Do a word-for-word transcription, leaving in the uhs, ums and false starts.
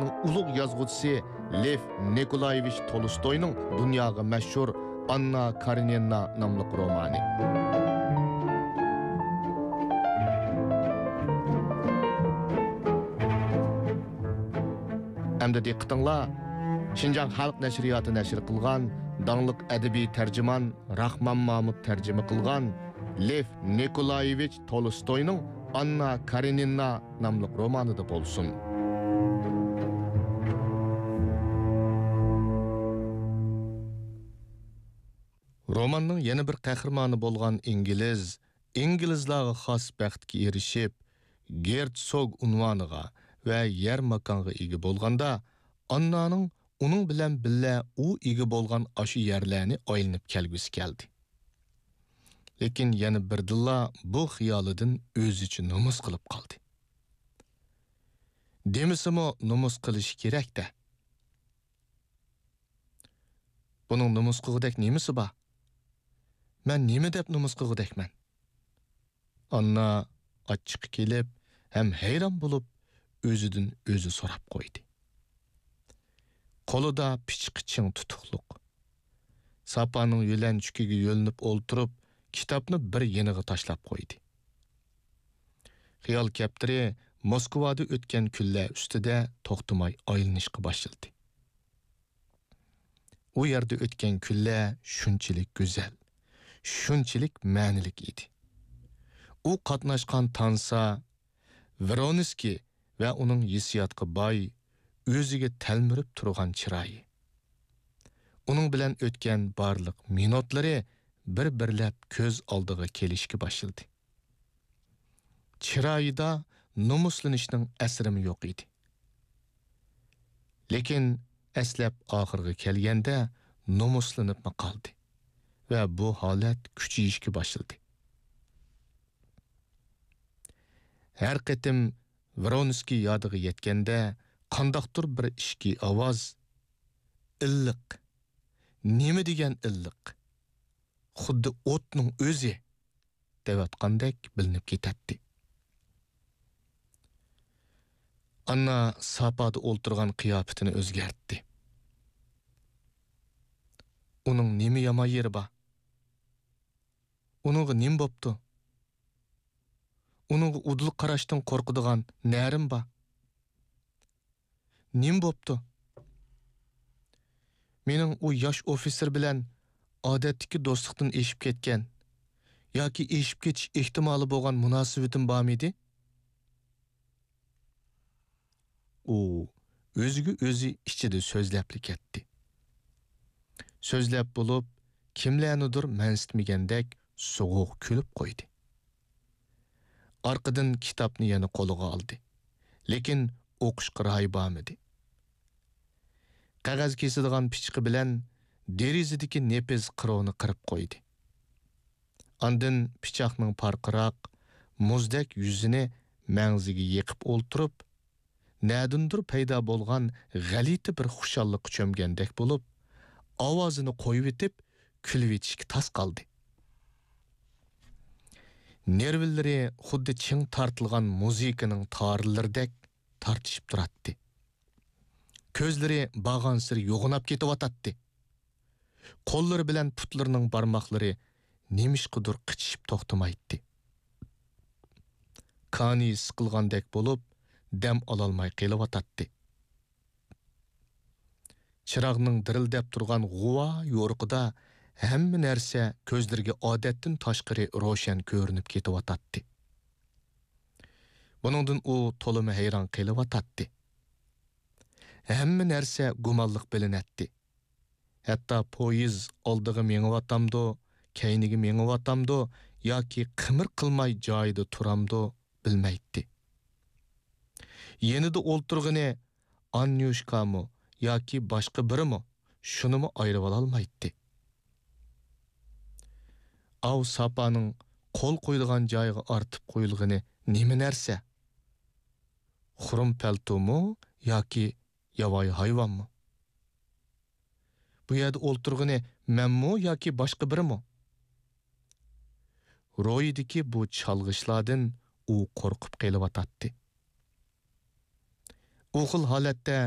ئۇلۇغ يازغۇچىسى لېف نىكولايېۋىچ تولستوينىڭ دۇنياغا مەشھۇر ئاننا كارېنىنا ناملىق رومانى. ئەمدى دىققىتىڭلار شىنجاڭ خەلق نەشرىياتى نەشر قىلغان داڭلىق ئەدەبىي تەرجىمان راخمان مامۇت تەرجىمە قىلغان لېف نىكولايېۋىچ تولستوينىڭ ئاننا كارېنىنا ناملىق رومانىدا بولسۇن. روماننىڭ يەنە بىر قەھرىمانى بولغان ئىنگلىز، ئىنگلىزلارغا خاس بەختكە ئېرىشىپ، گېرتسوگ ئۇنۋانىغا ۋە يەر ماكانغا ئىگە بولغاندا، ئاننانىڭ ئۇنىڭ بىلەن بىللە ئۇ ئىگە بولغان ئاشۇ يەرلەرنى ئايلىنىپ كەلگۈسى كەلدى. لېكىن يەنە بىردىنلا بۇ خىيالىدىن ئۆزىچە نومۇس قىلىپ قالدى. دېمىسىمۇ نومۇس قىلىشى كېرەك-دە. بۇنىڭ نومۇس قىلغۇدەك نېمىسى بار؟ مەن نېمە دەپ نومۇس قىلغۇدەكمەن؟ ئاننا ئاچچىقى كېلىپ ھەم ھەيران بولۇپ، ئۆزىدىن ئۆزى سوراپ قويدى. قولىدا پىچىقى چىڭ تۇتۇقلۇق. ساپانىڭ يۆلەنچۈكىگە يۆلىنىپ ئولتۇرۇپ، كىتابنى بىر يېنىغا تاشلاپ قويدى. خىيال كەپتىرى موسكۋادا ئۆتكەن كۈنلەر ئۈستىدە توختىماي ئايلىنىشقا باشلىدى. ئۇ يەردە ئۆتكەن كۈنلەر شۇنچىلىك گۈزەل، شۇنچىلىك مەنىلىك ئىدى. ئۇ قاتناشقان تانسا، ۋرونسكىي ۋە ئۇنىڭ ھېسسىياتقا باي، ئۆزىگە تەلمۈرۈپ تۇرغان چىرايى. ئۇنىڭ بىلەن ئۆتكەن بارلىق مىنۇتلىرى بىر-بىرلەپ كۆز ئالدىغا كېلىشكە باشلىدى. چىرايىدا نومۇسلىنىشنىڭ ئەسىرىمۇ يوق ئىدى. لېكىن ئەسلەپ ئاخىرىغا كەلگەندە نومۇسلىنىپمۇ قالدى ۋە بۇ ھالەت كۈچىيىشكە باشلىدى. ھەر قېتىم ۋرونسكىي يادىغا يەتكەندە، قانداقتۇر بىر ئىچكى ئاۋاز، «ئىللىق! نېمە دېگەن ئىللىق! خۇددى ئوتنىڭ ئۆزى!» دەۋاتقاندەك بىلىنىپ كېتەتتى. ئاننا ساپادا ئولتۇرغان قىياپىتىنى ئۆزگەرتتى. ئۇنىڭ نېمە يامان يېرى بار؟ ئۇنىڭغا نېمە بوپتۇ؟ ئۇنىڭغا ئۇدۇل قاراشتىن قورقىدىغان نەرىم بار. نېمە بوپتۇ؟ مېنىڭ ئۇ ياش ئوفىتسېر بىلەن ئادەتتىكى دوستلۇقتىن ئېشىپ كەتكەن ياكى ئېشىپ كېتىش ئېھتىمالى بولغان مۇناسىۋىتىم بارمىدى؟ ئۇ ئۆزىگە ئۆزى ئىچىدە سۆزلەپلا كەتتى. سۆزلەپ بولۇپ، كىملەرنىدۇر مەنسىتمىگەندەك سوغۇق كۈلۈپ قويدى. ئارقىدىن كىتابنى يەنە قولىغا ئالدى. لېكىن ئوقۇشقا رايى بارمىدى. قەغەز كېسىدىغان پىچىقى بىلەن دېرىزىدىكى نېپىز قىروۋنى قىرىپ قويدى. ئاندىن پىچاقنىڭ پارقىراق، مۇزدەك يۈزىنى مەڭزىگە يېقىپ ئولتۇرۇپ، نەدىندۇر پەيدا بولغان غەلىتە بىر خۇشاللىققا چۆمگەندەك بولۇپ، ئاۋازىنى قويۇۋېتىپ، كۈلۈۋېتىشكە تاس قالدى. نېرۋىلىرى خۇددى چىڭ تارتىلغان مۇزىكىنىڭ تارلىرىدەك تارتىشىپ تۇراتتى. كۆزلىرى بارغانسېرى يوغىناپ كېتىۋاتاتتى. قوللىرى بىلەن پۇتلىرىنىڭ بارماقلىرى نېمىشقىدۇر قىچىشىپ توختىمايتتى. كانىيى سىقىلغاندەك بولۇپ، دەم ئالالماي قېلىۋاتاتتى. چىراغنىڭ دىرىلدەپ تۇرغان غۇۋا يورۇقىدا ھەممە نەرسە كۆزلىرىگە ئادەتتىن تاشقىرى روشەن كۆرۈنۈپ كېتىۋاتاتتى. بۇنىڭدىن ئۇ تولىمۇ ھەيران قېلىۋاتاتتى. ھەممە نەرسە گۇمانلىق بىلىنەتتى. ھەتتا پويىز ئالدىغا مېڭىۋاتامدۇ، كەينىگە مېڭىۋاتامدۇ ياكى قىمىر قىلماي جايىدا تۇرامدۇ بىلمەيتتى. يېنىدا ئولتۇرغىنى ئاننيۇشكامۇ ياكى باشقا بىرىمۇ، شۇنىمۇ ئايرىۋالالمايتتى. ئاۋۇ ساپانىڭ قول قويىدىغان جايىغا ئارتىپ قويۇلغىنى نېمە نەرسە؟ خۇرۇم پەلتومۇ ياكى ياۋايى ھايۋانمۇ؟ بۇ يەردە ئولتۇرغىنى مەنمۇ ياكى باشقا بىرىمۇ؟ روھىدىكى بۇ چالغىشلاردىن ئۇ قورقۇپ قېلىۋاتاتتى. ئۇ خىل ھالەتتە